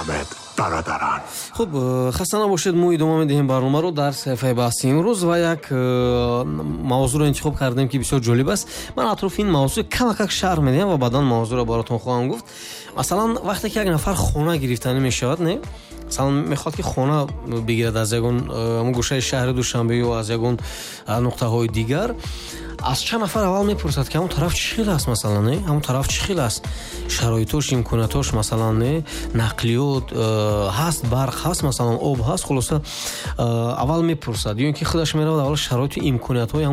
Бифармоед, бародарон. Хуб, хаста набошед. Мо идома медиҳем барномаро дар саҳифаи баҳси имрӯз ва як мавзӯъро интихоб кардем, ки бисёр ҷолиб аст. Ман атрофи ин мавзӯъ камакак шарҳ медиҳам ва баъдан мавзӯъро баротон хоҳам гуфт. Масалан, вақте ки як нафар хона гирифтанӣ мешавад, не, масалан, мехоҳад, ки хона бигирад аз ягон гӯшаи шаҳри Душанбе ё аз ягон нуқтаҳои дигар, аз чанд нафар аввал мепурсад, ки ҳамон тараф чӣ хел аст, масалан, не, ҳамон тараф чӣ хел аст, шароитош, имкониятош, масалан, не, нақлиёт ҳаст, барқ ҳаст, масалан, об ҳаст. Хулоса, аввал мепурсад ё ин ки худаш меравад, аввал шароиту имкониятҳои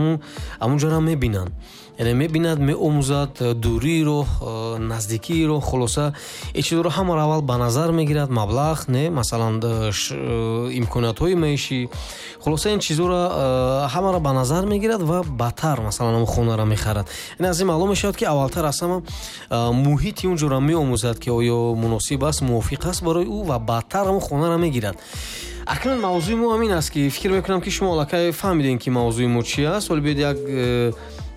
ҳамун ҷоро мебинанд, яъне мебинад, меомӯзад дурии роҳ, наздикии роҳ. Хулоса, ин чизро ҳамаро аввал ба назар мегирад, маблағ, не, масалан, имкониятҳои маишӣ. Хулоса, ин чизҳоро ҳамаро ба назар мегирад ва баъдтар, масалан, ҳамон хонаро мехарад. Яъне аз ин маълум мешавад, ки аввалтар аз ҳама муҳити он ҷоро меомӯзад, ки оё муносиб аст, мувофиқ аст барои ӯ, ва баъдтар ҳамон хонаро мегирад. Акнун мавзӯи мо ҳамин аст, ки фикр мекунам, ки шумо аллакай фаҳмидем, ки мавзӯи мо чи аст. Ҳоло биёед,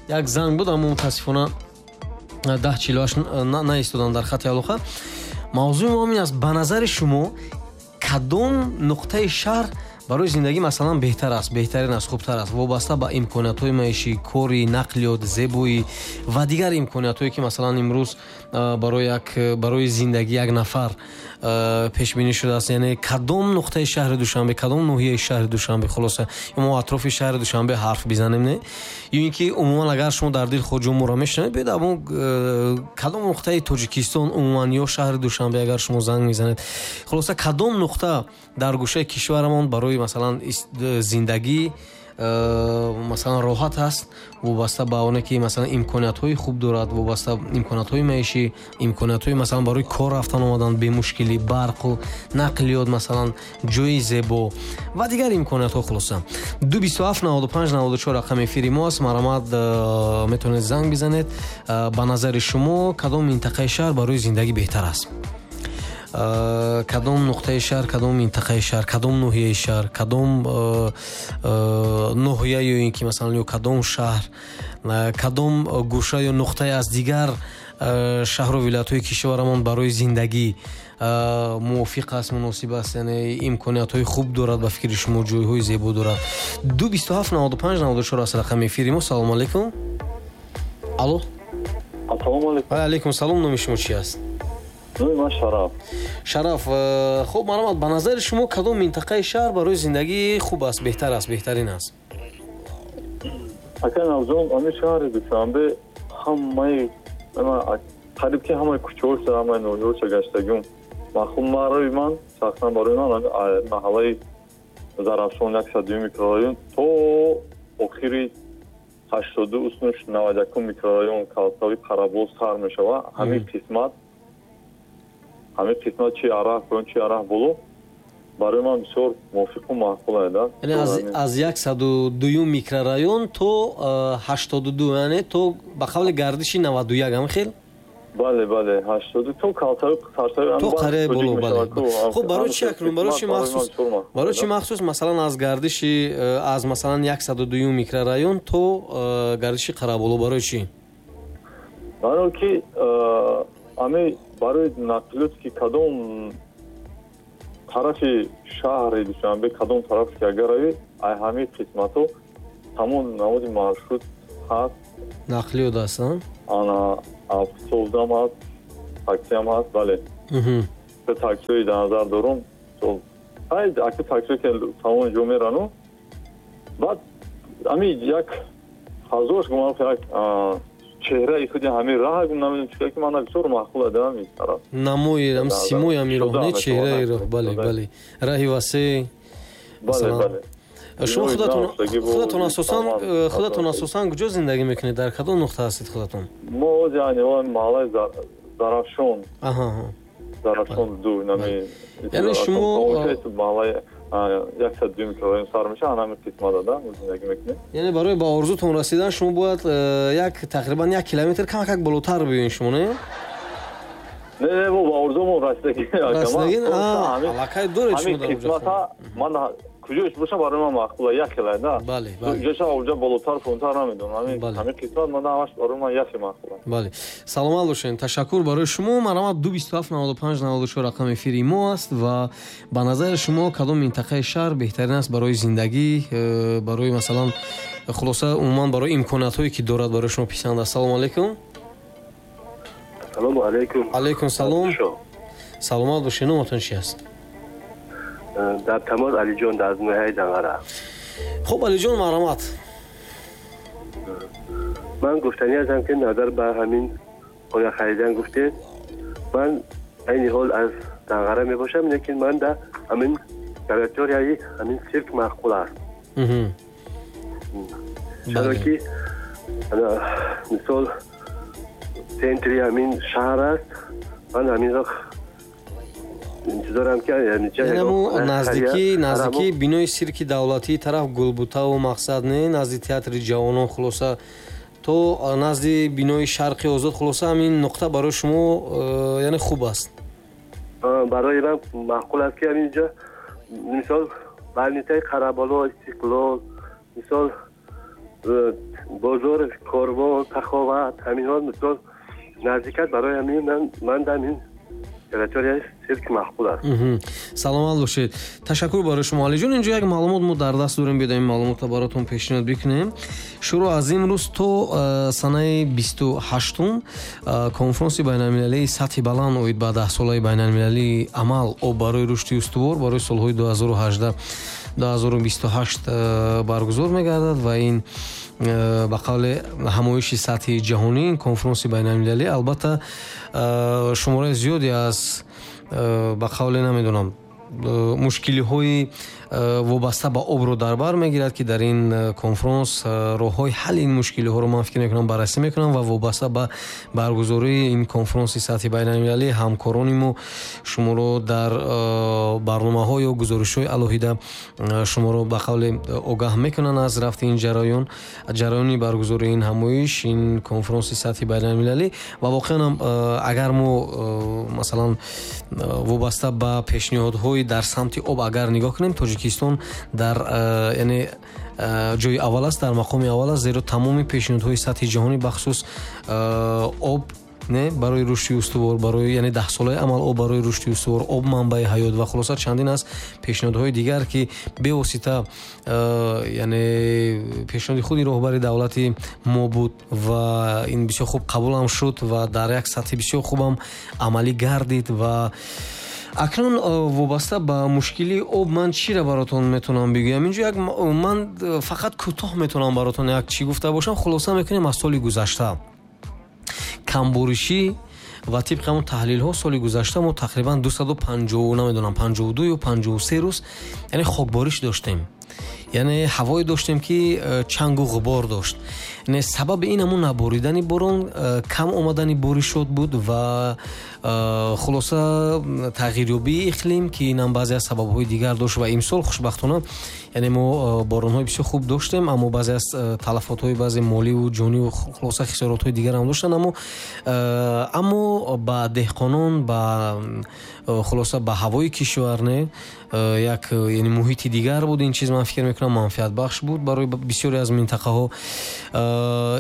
як занг буд, аммо мутаассифона 10:48 наистодам дар хати алоқа. Мавзӯи мо ҳамин аст: ба назари шумо, кадом нуқтаи шаҳр барои зиндагӣ, масалан, беҳтар аст, беҳтарин аст, хубтар аст, вобаста ба имкониятҳои маишӣ, кори, нақлиёт, зебоӣ ва дигар имкониятҳое, ки, масалан, имрӯз барои зиндагӣ як нафар пешбинӣ шудааст? Яъне кадом нуқтаи шаҳри Душанбе, кадом ноҳияи шаҳри Душанбе? Хулоса, мо атрофи шаҳри Душанбе ҳарф бизанем, не, ё ин ки умуман, агар шумо дар дил хоҳ ҷо моро мешунавед, биёед, аммо кадом нуқтаи Тоҷикистон умуман ё шаҳри Душанбе, агар шумо занг мезанед. Хулоса, кадом нуқта дар гӯшаи кишварамон барои, масалан, зиндагӣ, масалан, роҳат аст, вобаста ба оне ки, масалан, имкониятҳои хуб дорад, вобаста имкониятҳои маишӣ, имкониятҳои, масалан, барои кор рафтан омадан бемушкилӣ, барқу нақлиёт, масалан, ҷои зебо ва дигар имкониятҳо. Хулоса, 227 95 94 рақами эфири мо аст. Марҳамат, метавонед занг бизанед. Ба назари шумо, кадом минтақаи шаҳр барои зиндагӣ беҳтар аст? Кадом нуқтаи шаҳр, кадом минтақаи шаҳр, кадом ноҳияи шаҳр, кадом ноҳия ё ин ки, масалан, ё кадом шаҳр, кадом гӯша ё нуқтае аз дигар шаҳру вилоятҳои кишварамон барои зиндагӣ мувофиқ аст, муносиб аст, яъне имкониятҳои хуб дорад, ба фикри шумо, ҷойҳои зебо дорад? 227 95 94 аст рақами эфири мо. Салому алайкум, алло. Ассалому алайкум. Алайкум салом. Номи шумо чи аст? Номи ман Шараф. Шараф, хуб, марҳамат, ба назари шумо, кадом минтақаи шаҳр барои зиндагӣ хуб аст, беҳтар аст, беҳтарин аст? Ака Навҷон, ҳамин шаҳри Душанбе ҳамаи, қариб ки ҳамаи кӯчаҳоша, ҳамаи ноҳияҳоша гаштагим. Махум барои ман, шахсан барои ман, маҳаллаи Зарафшон, 102 микрорайон то охири 82 уснуш 91 микрорайон, калтави Қарабоз сар мешавад, ҳамин қисмат, чи араҳ поён, чи араҳ боло, барои ман бисёр мувофиқу маъқул да. Яъне аз 102-юм микрорайон то 82, яъне то ба қавли гардиши 91, ҳамин хел? Бале, 82 то калтави сарсави. То қарияи боло, бале. Хуб, барои чи акнун, барои чи махсус, масалан, аз гардиши аз, масалан, 102-юм микрорайон то гардиши Қараболо, барои чӣ? Барои ки ами барои нақлиёт, ки кадом тарафи шаҳри Душанбе, кадом тараф ки агар равӣ, ай ҳамин қисматҳо ҳамон намуди маршрут ҳаст. Нақлиёт аст. Ана, автобусам ҳаст, таксиам ҳаст, бале, таксиҳои дар назар дорум, ака, таксиҳо ки тамоми ҷо мерану. Баъд ами як фазош гумон, як чеҳраи худи ҳамин раҳ, намедонам чӣ, ки мана бисёр маъқул адам ин тараф. Намои, симои ҳамин роҳ, не, чеҳраи роҳ, бале, раҳи васеъ. Бале. Шумо худатон асосан куҷо зиндагӣ мекунед, дар кадом нуқта ҳастед худатон? Мо яъне маҳаллаи Зарафшон, Зарафшон 2. Яъне шумо маҳаллаи 102 микрорайон сар меша, ҳамин қисмата да зиндагӣ мекунем. Яъне барои ба орзутон расидан шумо бояд як тақрибан 1 километр камакак болотар биёед шумо, не? Не, не, мо ба орзумон расидагӣ. Расидагӣ, аллакай доред шумо дар қисмата. Ман Куҷош боша барои ман маъқула, як хелай да. Бале, бале. Ҷоша оҷа болотар фунтар намедонам. Ҳамин қисмат ман ҳамаш барои ман яхе маъқула. Бале. Саломат бошед. Ташаккур барои шумо. Марҳамат, 227 95 94 рақами эфири мо аст ва ба назари шумо кадом минтақаи шаҳр беҳтарин аст барои зиндагӣ, барои масалан хулоса умуман барои имкониятҳое ки дорад барои шумо писанд аст. Салому алайкум. Салому алайкум. Алайкум салом. Саломат бошед. Номатон чи аст? Дар тамос Алиҷон аз ноҳияи Данғара. Хуб, Алиҷон, марҳамат. Ман гуфтанӣ ҳастам ки назар ба ҳамин хона харидан гуфтед, ман айни ҳол аз Данғара мебошам, лекин ман дар ҳамин территорияи ҳамин сирк маъқул аст. Чаро ки мисол центри ҳамин шаҳр аст, ман ҳаминро интизорам ки наздики бинои сирки давлатии тараф Гулбутаву мақсад не, назди театри ҷавонон, хулоса то назди бинои Шарқи Озод, хулоса ҳамин нуқта барои шумо яъне хуб аст. Барои ман маъқул аст ки ҳаминҷо мисол больницаи Қараболо, Истиқлол, мисол бозор Корвон, Саховат, ҳаминҳо мисол наздик аст. Барои ҳамин ман ҳамин территорияи сирк маъқул аст. Саломат бошед. Ташаккур барои шумо, Алиҷон. Инҷо як маълумот мо дар даст дорем, биёед ин маълумотро баротон пешниҳод бикунем. Шурӯъ аз имрӯз то санаи 28-ум конфронси байналмилалии сатҳи баланд оид ба 10-солаи байналмилалии амал об барои рушди устувор барои солҳои 2018-2028 баргузор мегардад ва ин ба қавли ҳамоиши сатҳи ҷаҳонӣ, ин конфронси байналмилалӣ албатта шумораи зиёде аз ба қавле намедонам мушкилиҳои вобаста ба обро дар бар мегирад, ки дар ин конфронс роҳҳои ҳалли ин мушкилиҳоро ман фикр мекунам баррасӣ мекунам ва вобаста ба баргузории ин конфронси сатҳи байналмилалӣ ҳамкорони мо шуморо дар барномаҳо ё гузоришҳои алоҳида шуморо ба қавле огаҳ мекунанд аз рафти ин ҷараён, ҷараёни баргузории ин ҳамоиш, ин конфронси сатҳи байналмилалӣ. Ва воқеан ҳам агар мо масалан вобаста ба пешниҳодҳои дар самти об агар нигоҳ кунем, Тоҷикистон дар яъне ҷои аввал аст, дар мақоми аввал аст, зеро тамоми пешниҳодҳои сатҳи ҷаҳонӣ бахусус об не барои рушди устувор, барои яъне 10-солаи амал об барои рушди устувор, об манбаи ҳаёт ва хулоса чандин аст пешниҳодҳои дигар, ки бевосита яъне пешниҳоди худи роҳбари давлати мо буд ва ин бисёр хуб қабулам шуд ва дар як сатҳи бисёр хубам амалӣ гардид. Ва акнун вобаста ба мушкилии об ман чиро баротон метавонам бигӯям? Инҷо як ман фақат кӯтоҳ метавонам баротон як чӣ гуфта бошам. Хулоса мекунем аз соли гузашта камборишӣ ва тибқи ҳамон таҳлилҳо соли гузашта мо тақрибан 250 намедонам 52 ё 53 рӯз яъне хокбориш доштем, яъне ҳавое доштем ки чангу ғубор дошт. Яъне сабаби ин ҳамон наборидани борон, кам омадани боришот буд ва хулоса тағйирёбии иқлим, ки инам баъзе аз сабабҳои дигар дошт. Ва имсол хушбахтона яъне мо боронҳои бисёр хуб доштем, аммо баъзе аз талафотҳои баъзе моливу ҷониву хулоса хисоротҳои дигар ҳам доштанд, аммо ба деҳқонон, ба хулоса ба ҳавои кишвар не як яъне муҳити дигар буд. Ин чиз ман фикр мекунам манфиатбахш буд барои бисёре аз минтақаҳо.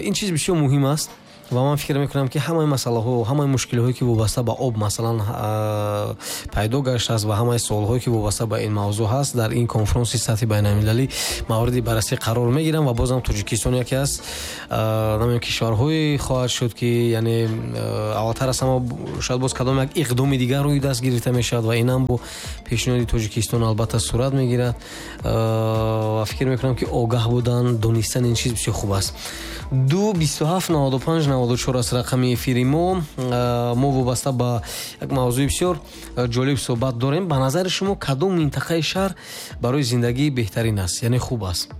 Ин чиз бисёр муҳим аст ва ман фикр мекунам ки ҳамаи масъалаҳо, ҳамаи мушкилиҳое ки вобаста ба об масалан пайдо гаштааст ва ҳамаи суолҳое ки вобаста ба ин мавзӯъ ҳаст дар ин конфронси сатҳи байналмилалӣ мавриди баррасӣ қарор мегиранд ва бозам Тоҷикистон яке аз намедонам кишварҳое хоҳад шуд ки яъне аввалтар аз ҳама шояд боз кадом як иқдоми дигар рӯи даст гирифта мешавад ва инам бо пешниҳоди Тоҷикистон албатта сурат мегирад. Ва фикр мекунам ки огаҳ будан, донистан ин чиз бисёр хуб аст. 2 27 95 94 аст рақами эфири мо. Мо вобаста ба як мавзӯи бисёр ҷолиб суҳбат дорем. Ба назари шумо кадом минтақаи шаҳр барои зиндагӣ беҳтарин аст, яъне хуб аст?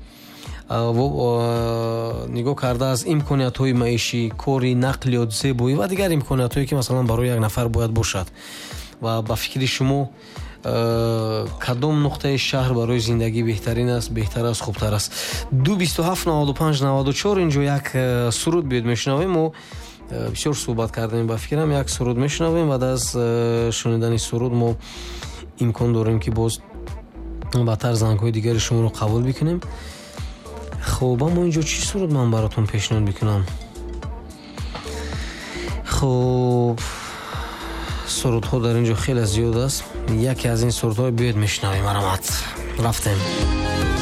Нигоҳ карда аз имкониятҳои маишӣ, кори, нақлиёт, зебоӣ ва дигар имкониятҳое ки масалан барои як нафар бояд бошад. Ва ба фикри шумо кадом нуқтаи шаҳр барои зиндагӣ беҳтарин аст, беҳтар аст, хубтар аст? 2 27 95 94. Инҷо як суруд биёд мешунавем. Мо бисёр суҳбат кардем, ба фикрам як суруд мешунавем. Баъд аз шунидани суруд мо имкон дорем ки боз Баъдтар зангҳои дигари шуморо қабул бикунем. Хуб, аммо инҷо чӣ суруд ман баротон пешниҳод бикунам? Хуб, сурудҳо дар ин ҷо хеле зиёд аст. Яке аз ин сурудҳо биёед мешунавем. Марамат, рафтем.